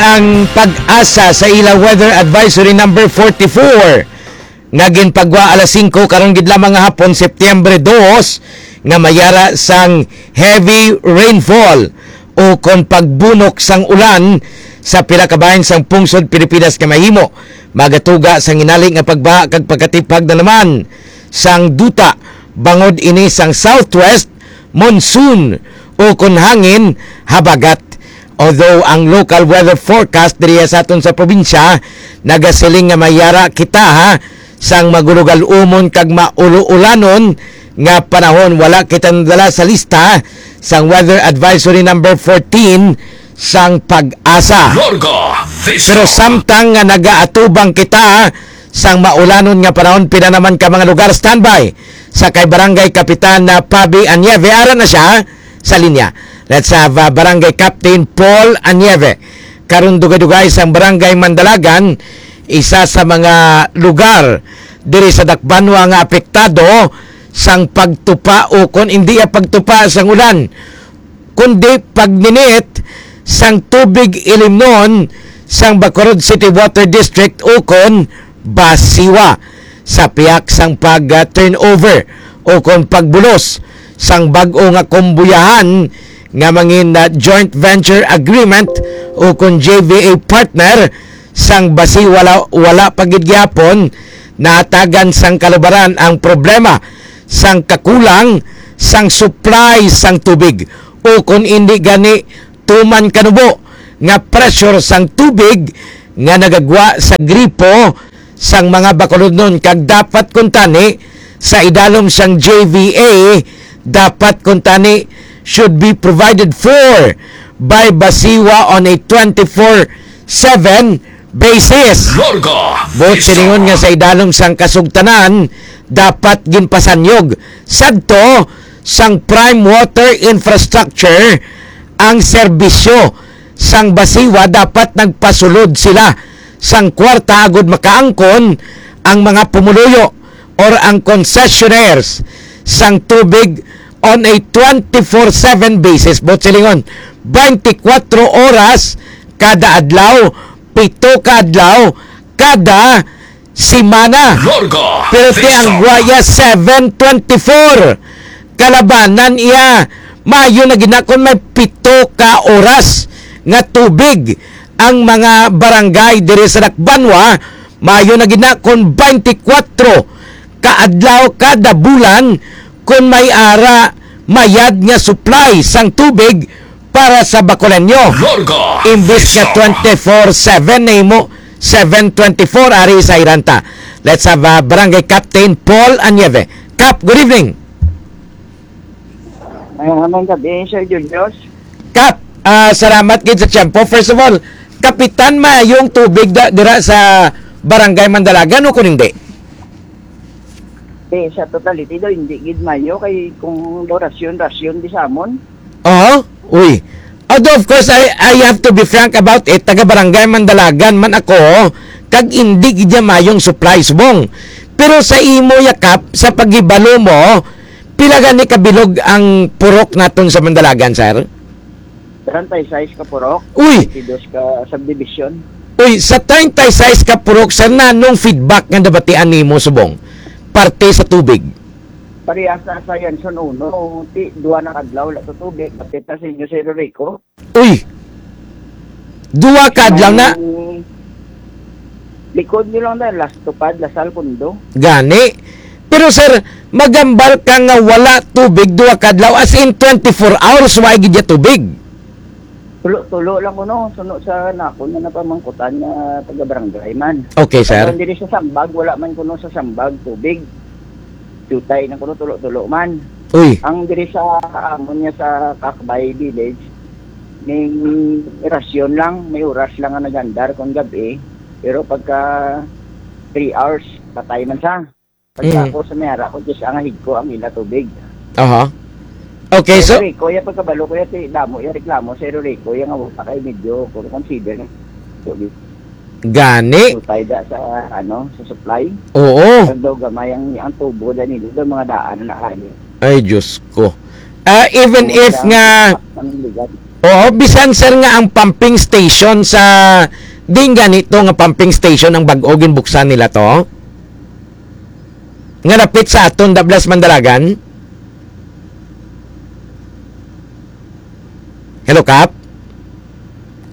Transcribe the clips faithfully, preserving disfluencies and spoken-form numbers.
Ang PAGASA sa ila Weather Advisory number forty-four nga ginpagwa alas singko karon gid lamang nga hapon, Setyembre dos, nga mayara sang heavy rainfall o kon pagbunok sang ulan sa pila ka bahin sang pungsod Pilipinas nga mahimo magatuga sang hinali nga pagbaha kag pagkatipag na naman sang duta bangod ini sang southwest monsoon o kon hangin habagat. Although ang local weather forecast diri sa aton sa probinsya nagasiling nga mayara kita, ha, sang magulugal-umon kag maulo-ulanon nga panahon, wala kita nadala sa lista sang weather advisory number fourteen sang PAGASA. Larga Vista. Pero samtang nga nagaatubang kita sang maulanon nga panahon, pila naman ka mga lugar, standby sa kay Barangay Kapitan na Pabi Anyeve. Ara na siya sa linya. Let's have, uh, Barangay Captain Paul Anyeve. Karon dugay-dugay sang Barangay Mandalagan, isa sa mga lugar diri sa Dakbanwa nga apektado sang pagtupa o kon hindi ya pagtupa sang ulan, kundi pagninit sang tubig ilimnon sang Bacolod City Water District o kon BACWA sa pihak sang pag, ah, turnover o kon pagbulos sang bag-o nga kumbuyahan nga mangin, ah, joint venture agreement o kon J V A partner sang BACWA. Wala, wala pa gid gihapon nahatagan sang kalubaran ang problema sang kakulang sang supply sang tubig o kon indi gani tuman kanubo nga pressure sang tubig nga nagagwa sa gripo sang mga Bacolodnon, kag dapat kuntani sa idalom sang J V A, dapat kuntani should be provided for by BACWA on a twenty-four seven basis. Larga Buot Vista. Silingon nga sa idalom sang kasugtanan, dapat ginpasanyog sadto sang Prime Water Infrastructure ang serbisyo sang BACWA. Dapat nagpasulod sila sang kwarta agud makaangkon ang mga pumuluyo or ang concessionaires sang tubig on a twenty-four seven basis. Buot silingon, twenty-four oras kada adlaw, pito ka adlaw kada semana. Larga Pero Vista. Tiang guaya seven twenty-four. Kalabanan iya, maayo na gid na kon may pito ka oras nga tubig ang mga barangay diri sa Dakbanwa. Maayo na gid na kon twenty-four ka adlaw kada bulan kon may ara mayad nga supply sang tubig para sa Bacoleño. Larga Imbis nga Vista. Twenty-four seven, nahimo seven twenty-four ari sa Iranta. Let's have, uh, Barangay Captain Paul Anyeve. Cap, good evening. Maayong gabi, Sir Julius. Cap, ah, salamat gid sa tiyempo. First of all, Kapitan, maayong tubig da, dira sa Barangay Mandalagan o kung hindi? Di, sa totality daw, hindi gid mayo kay kung daw rasyon, rasyon di sa amon. Oo, uy. Although, of course, I, I have to be frank about it, taga Barangay Mandalagan man ako, kag hindi gid niya mayong supply subong. Pero sa imo, ya Cap, sa paghibalo mo, pila gani ka bilog ang purok naton sa Mandalagan, sir? Treinta y seis ka purok, Uy! Twenty-dos ka subdivision. Uy, sa treinta y seis ka purok, sir, nanong feedback nga nabatian nimo subong parte sa tubig? Parehas na sa Yanson uno, ti, duha na kadlaw wala to tubig, bati ta sa inyo, Sir Rico. Uy! Duha ka adlaw na. May likod nyo lang na, Las Tupad, Lasal, Condo. Gani. Pero, sir, magambal ka nga wala tubig duha ka adlaw, as in twenty-four hours, wa gid ya tubig. Tulo-tulo lang kuno, suno sa nako na napamangkutan nga taga-barangay man. Okay, sir. Ang diri sa Sambag, wala man kuno sa Sambag tubig. Jutay na kuno, tulo-tulo man. Uy. Ang diri sa amon nga sa Kakbay Village, may rasyon lang, may oras lang nga nagandar kung gabi. Pero pagka three hours, patay man sa. Pagka Mm. ako sa may ara ko, just ang higko ang ila tubig. Aha. Okay, so Pero Rico, yung pagkabalo ko, yung ti-, damo, yung reklamo, Sir Rico, yung nga wala kay medyo, kung consider, tubig. Gani? Utay da sa, ano, sa supply. Oo. Ang daw gamay ang, ang tubo da nila, daw mga daan na kaya. Ay, Diyos ko. Ah, even Mga if daan nga sa Pangiligan. Oo, bisan, sir, nga ang pumping station sa, di gani to nga pumping station ang bag-o ginbuksan nila to? Nga dapit sa aton, Dablas Mandalagan? Hello, Kap?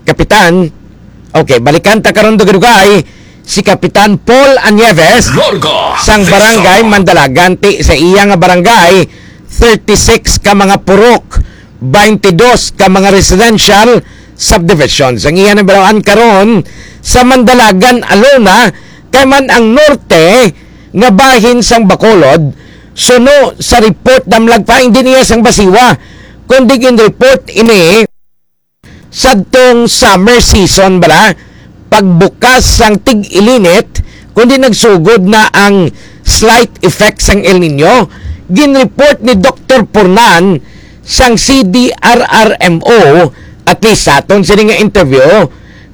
Kapitan? Okay, balikan ta karon, dugay-dugay, si Kapitan Paul Anieves Larga sang Vista. Barangay Mandalagan. Ti sa iya nga barangay, thirty-six ka mga purok, twenty-two ka mga residential subdivisions. Ang iya nabalaan karon sa Mandalagan alone, kay man ang norte nga bahin sang Bacolod, suno sa report, damlag pa, hindi niya sang Basiwa, kundi gin-report ini sadtong summer season bala, pagbukas sang tig-ilinit, kundi nagsugod na ang slight effect sang El Nino. Gin-report ni Doktor Pornan sang C D R R M O, at least sa aton sini nga interview,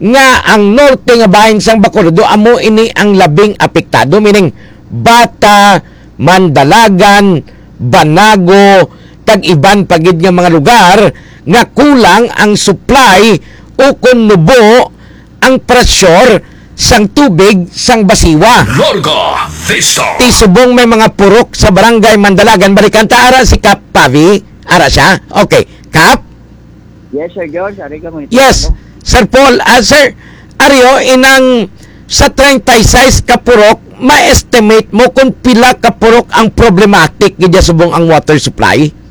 nga ang norte nga bahin sang Bacolod amo ini ang labing apektado, meaning Bata, Mandalagan, Banago, kag iban pa gid nga mga lugar nga kulang ang supply o kon nubo ang pressure sang tubig sang Basiwa. Larga Vista. Ti subong may mga purok sa barangay Mandalagan, balikan ta ara si Kap Pavi, ara siya. Okay, Kap? Yes, Sir George. Ari ka, monitor Yes, mo. Sir Paul. Ah, sir, Ario, inang sa treinta y seis ka purok, ma-estimate mo kung pila ka purok ang problematic gid subong ang water supply?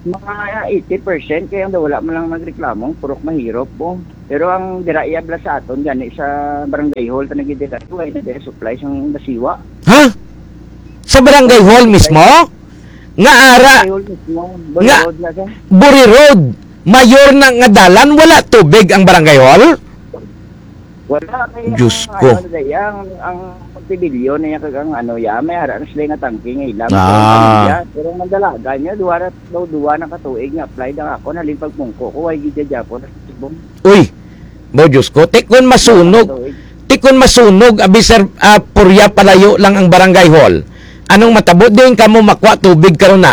Mga eighty percent kaya wala man lang nagreklamo, purok mahirap po. Pero ang dira iya bala sa aton gani sa barangay hall ta nagidira, wala na dira supply sang Basiwa. Ha? Sa barangay hall mismo? Nga ara, Barangay hall mismo, Buri nga Road na siya. Buri Road, mayor na nga dalan, wala tubig ang barangay hall? Wala, kaya Diyos ang, ko. Ano, dai, ang, ang pagtibilyo niya kag ang ano, ya, may ara na sila nga tangke nga ilang. Ah. Pero ang pamilya, pero ang mandalagan niya, duwa na, daw duwa na katuig nga apply na ako, nalin pagpungko ko, ay gidya po na sa subong. Uy, mo Diyos ko, ti kon masunog, Katuig. Ti kon masunog, abi sir, ah, purya palayo lang ang barangay hall. Anong matabo? Diin kamo makwa tubig karon na?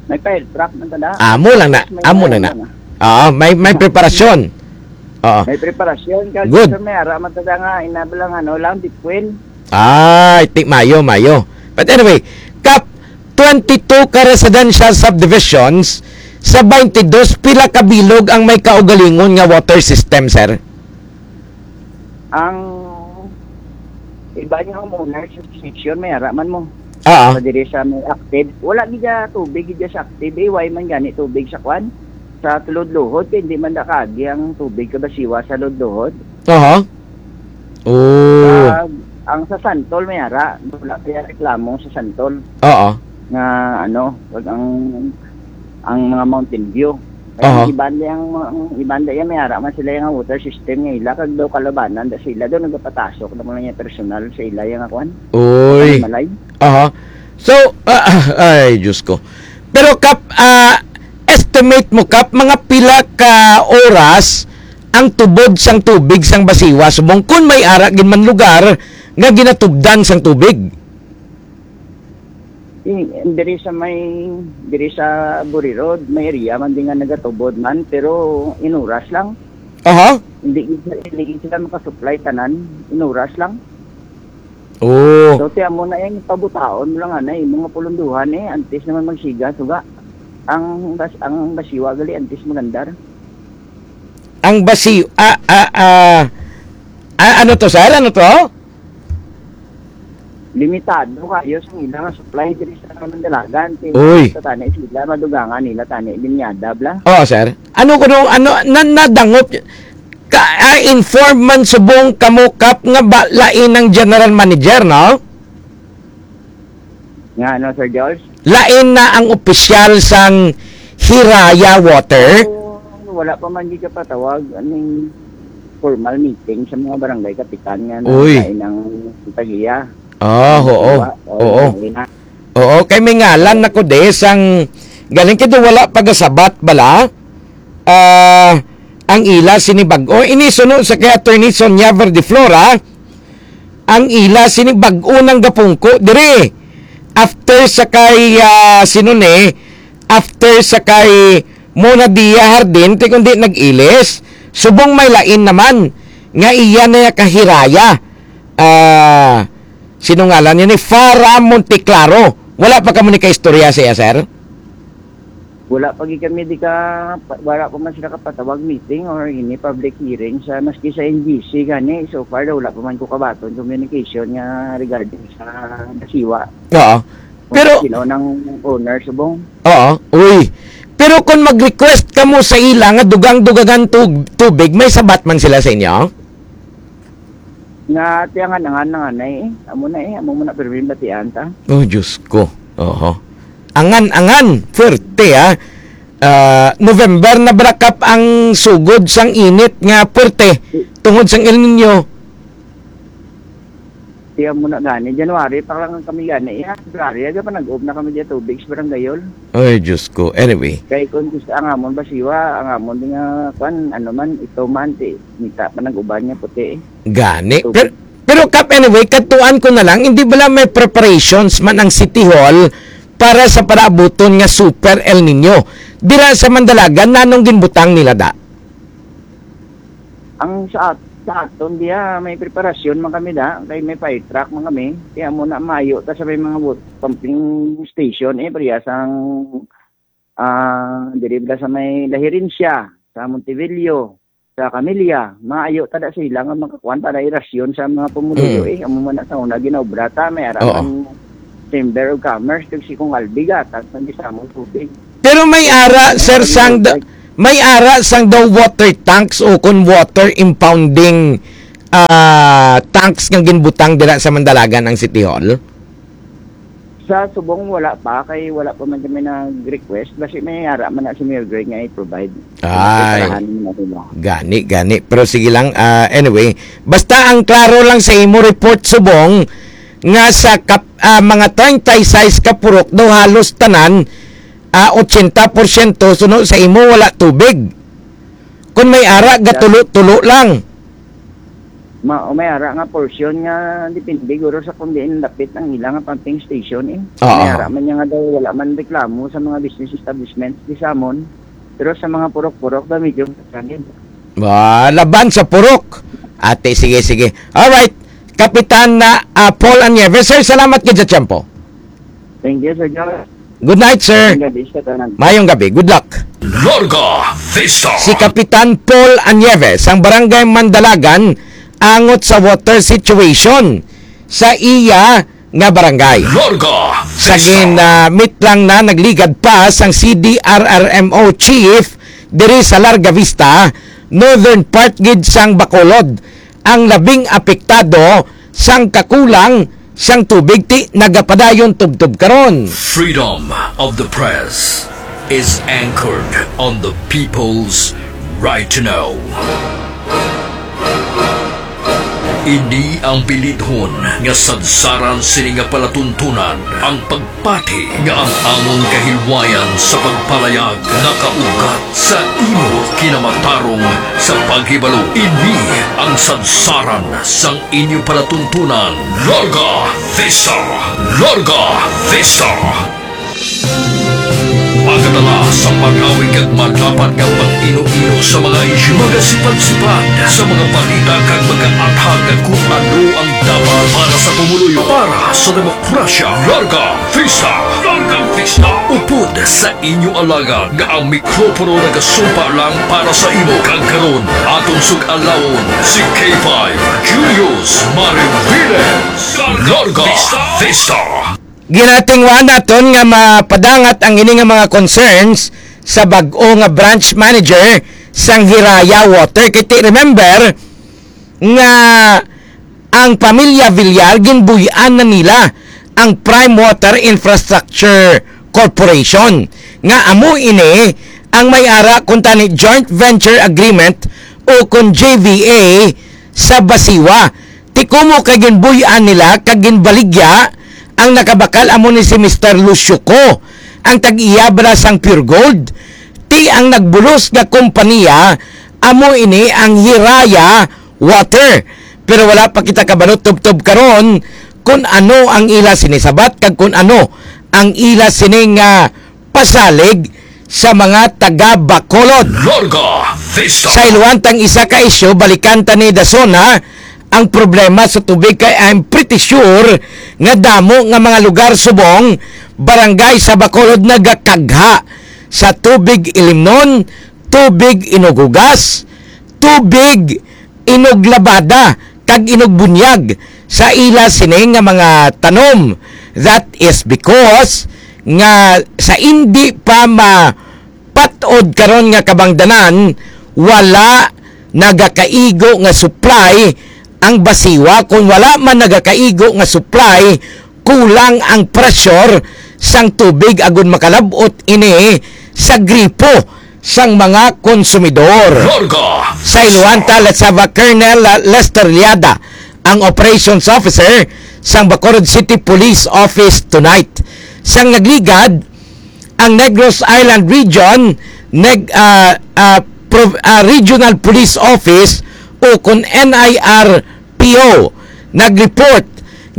May fire truck man tanda. Amo lang na. May Amo lang na. ano na. Ah, may, may preparasyon. Oo. May preparasyon. Kag Good. Sir, may ara man tanda nga, inabla nga, ano lang, deep well. Ay, ti mayo, mayo. But anyway, Kap, twenty-two ka residential subdivisions sa twenty-two, pila ka bilog ang may kaugalingon nga water system, sir? Ang iba niya homeowners association, may ara man mo. Oo. Sa diri sa may active. Wala gid siya tubig, gid siya sa active. Eh, why man gani tubig sa kwan? Sa Tulod-Luhod, kay hindi man da kaagi ang tubig kabasiwa sa Lod-Luhod. Aha. Oh. Kag ang sa Santol, may ara. Wala kaya reklamo sa Santol. Oo. Nga, ano, pag ang, ang mga Mountain View. Kaya Aha. ang iban di ang, ang iban di yan, may ara man sila yung water system nga ila. Kag daw kalabanan, da sila daw nagapatasok na mga niya personal sa ila yung kwan. Uy. Malay. Aha. So, ah, ah, ay, Diyos ko. Pero, Kap, ah, estimate mo, Kap, mga pila ka oras ang tubod sang tubig sang Basiwa subong kun may ara gid man lugar nga ginatubdan sang tubig? Yung, diri sa may, diri sa Buri Road, may area man din nga nagatubod man, pero inuras lang. Aha. Hindi gid sila, hindi gid sila makasupply tanan, inuras lang. Oh. So, ti amo na yung pabutaon mo lang, anay, mga pulunduhan eh, antes naman magsiga, suga. Ang bas-, ang Basiwa gali, antes magandar. Ang Basi-, ah, ah, ah, ah, ano to, sir? Ano to? Limitado kayo sa ilang supply diri sa Mandalagan. Uy. Sa tani sila, madugangan nila tani, linyada, bla. Oo, sir. Ano ko nung, ano, na, nadangop, ka, ah, inform man subong kamo, Kap, nga ba, lain ang general manager, no? Nga ano, Sir George? Lain na ang opisyal sang Hiraya Water? Oo, wala pa man gid kapatawag aning formal meeting sa mga barangay kapitan nga Uy. Nagkain ng Pahiya. Ah, oo. Diba? Oo. Yun na. Oo, kay may ngalan na ko de sang galing kay wala pagasabat bala. Ah, ang ila sini bag-o. Ini suno sa kay Attorney Sonia Verdeflora, ang ila sini bag-o nang gapungko diri. After sa kay, ah, sino ni? After sa kay Mo na diya hardin, ti kundi nag-ilis. Subong may lain naman nga iya na kahiraya. Ah, sinungalan niya ni Farah Monteclaro. Wala pa kamo ni kaistorya sa iya, sir? Wala pa gid kami di ka, wala pa man sila kapatawag meeting or any public hearing sa, maski sa N G C gani. So far, wala pa man ko kabaton communication nga regarding sa Basiwa. Oo. Kung Pero sino nang owner subong. Oo. Uy. Pero kung mag-request kamo sa ila nga dugang-dugangan tug-, tubig, may sabat man sila sa inyo? Nga tiyangan-angan na nga na eh. Amo na eh, amo mo na pirmi batian ta. Oh, Diyos ko. Oho. Angan-angan, puwerte, ah. Ah, November na brakap ang sugod sang init nga puwerte tungod sang El Nino. Tiyan mo na gani, January pa lang kami gani. Iya, February, aga pa nag-uom na kami diya tubig sa barangay hall. Ay, Diyos ko. Anyway. Kay kung gusto ang amon Basiwa, ang amon di nga, kwan, ano man, ito man, ti, nita pa nag-uban nga puti eh. Gani. Tubig. Pero, pero Kap, anyway, katuan ko na lang, hindi bala may preparations man ang City Hall para sa palaabuton nga Super El Nino? Dira sa Mandalagan, nanong ginbutang nila da? Ang sa at-, sa aton diya, may preparasyon man kami da, kay may fire truck man kami. Kaya mo na mayo ta sa may mga wat-, pumping station, eh, pareha sang, ah, diri bala sa may Laherencia, sa Montebello, sa Camilla, maayo ta da sila nga makakuan para irasyon sa mga pumuluyo, Mm. eh. Amo man na sa una ginaobra ta, may ara Oo. man Chamber of Commerce, kag si Kong Albi gatag man di sa among tubig. Pero may ara, Sir, sang da-, may ara sang daw water tanks o kon water impounding, ah, tanks nga ginbutang dira sa Mandalagan ang City Hall? Sa subong, wala pa, kay wala pa man kami nag-request. Basi may ara man na si Mayor Greg nga i-provide. Ay. Preparahan na nila. Gani, gani. Pero sige lang, ah, anyway, basta ang klaro lang sa imo report subong nga sa kap-, ah, mga treinta y seis ka purok daw halos tanan, ah, ochenta porsyento suno sa imo wala tubig. Kung may ara, gatulo-tulo lang. Ma-, o may ara nga portion nga depende guro sa kung diin lapit ang ila nga pumping station, eh. Oo. May ara man niya nga daw wala man reklamo sa mga business establishments di sa amon. Pero sa mga purok-purok daw medyo masanib. Ah, laban sa purok. Ate, sige, sige. Alright. Kapitan na, ah, Paul Anieves. Sir, salamat gid sa tiyempo. Thank you, Sir John. Good night, sir. Mayong gabi sa tanan. Mayong gabi. Good luck. Larga Vista. Si Kapitan Paul Anieves, ang Barangay Mandalagan, angot sa water situation sa iya nga barangay. Larga Sa Vista. gin, ah, meet lang na nagligad pa sang C D R R M O chief diri sa Larga Vista, northern part gid sang Bacolod, ang labing apektado sang kakulang sang tubig, ti nagapadayon tubtob karon. Freedom of the press is anchored on the people's right to know. Ini ang bilidhon nga sadsaran sini nga palatuntunan, ang pag pati nga ang amon kahilwayan sa pagpalayag nakaugat sa imo kinamatarong sa paghibalo. Ini ang sadsaran sang inyo palatuntunan. Larga Vista! Larga Vista! Magadala sa mangawig kag madapat nga pag-ino-ino sa mga isyu, magasipat-sipat sa mga balita kag magaathag kung ano ang dapat para sa pumuluyo, para sa demokrasya. Larga Vista! Larga Vista! Upod sa inyo alagad nga ang mikropono nagasumpa lang para sa imo. Kag karon, aton sug-alawon si K five Julius Mariviles. Larga Vista! Ginatingwa naton nga mapadangat ang ini nga mga concerns sa bag-o nga branch manager sang Hiraya Water. Kay ti-, remember nga ang pamilya Villar ginbuy-an na nila ang Prime Water Infrastructure Corporation, nga amo ini ang may ara kuntani Joint Venture Agreement o kon J V A sa Basiwa. Ti kumo kay ginbuy-an nila kag ginbaligya ang nakabakal amo ni si Mister Lucio Co, ang tag-iya bala sang Pure Gold. Ti ang nagbulos nga kompanya amo ini ang Hiraya Water. Pero wala pa kita kabalo tubtob karon kun ano ang ila sini sabat kag kun ano ang ila sini nga pasalig sa mga taga Bacolod. Larga Vista. Sa Iluantang isa ka isyu, balikan ta ni Dason, ha? Ang problema sa tubig kay I'm pretty sure nga damo nga mga lugar subong, barangay sa Bacolod nagakagha sa tubig ilimnon, tubig inughugas, tubig inuglabada, kag inugbunyag sa ila sini nga mga tanom. That is because nga sa indi pa mapat-od karon nga kabangdanan, wala nagakaigo nga supply ang Basiwa. Kung wala man nagakaigo nga supply, kulang ang pressure sang tubig agud makalab-ot ini sa gripo sang mga konsumidor. Larga. Sa Iluanta, let's have a Colonel, uh, Lester Liada, ang operations officer sang Bacolod City Police Office tonight. Sang nagligad ang Negros Island Region, neg-, ah, ah, Prov-, ah, Regional Police Office, o kon N I R P O, nag-report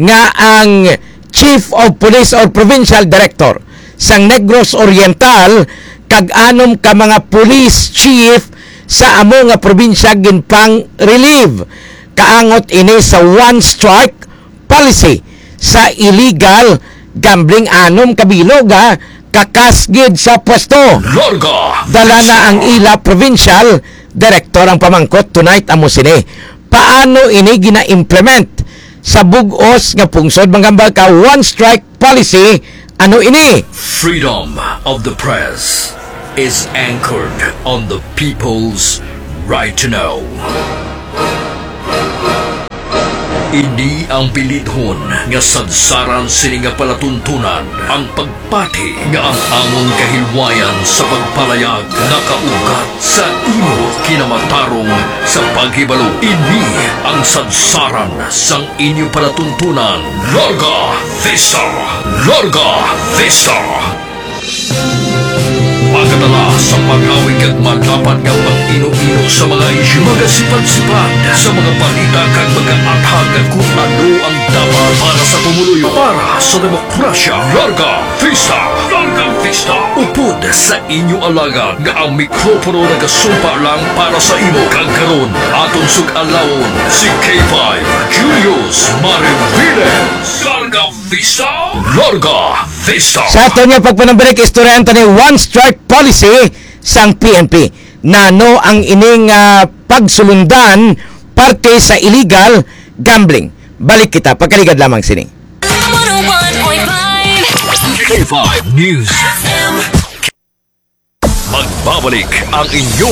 nga ang Chief of Police or Provincial Director sang Negros Oriental kag anom ka mga police chief sa amo nga probinsya ginpang-relieve. Kaangot ini sa one strike policy sa illegal gambling. Anom ka bilog, ha, kakas gid sa pwesto. Larga. Dala na ang ila provincial director. Ang pamangkot tonight amo sini: paano ini gina-implement sa bug-os nga pungsod? Manghambal ka, one strike policy, ano ini? Freedom of the press is anchored on the people's right to know. Ini ang bilidhon nga sadsaran sini nga palatuntunan, ang pagpati nga ang amon kahilwayan sa pagpalayag nakaugat sa imo kinamatarong sa paghibalo. Ini ang sadsaran sang inyo palatuntunan. Larga Vista! Larga Vista! Magadala sa pag-awig kag madapat nga pag-ino-ino sa mga isyu, magasipad-sipad sa mga balita kag mag-aathag kung ano ang dapat para sa pumuluyo, para sa demokrasya. Larga Vista! Larga Vista! Upod sa inyo alagad nga ang mikropono nagasumpa lang para sa imo, kag karon aton sug-alawon si K five Julius Mariviles. Larga Vista! Larga Vista! Sa aton nga pagpanambalik, istoryahan ta ni one strike policy sang P N P. Nano ang ining, ah, pagsulundan parte sa illegal gambling? Balik kita, pagkaligad lamang sini. One oh one point five K five News. Magbabalik ang inyong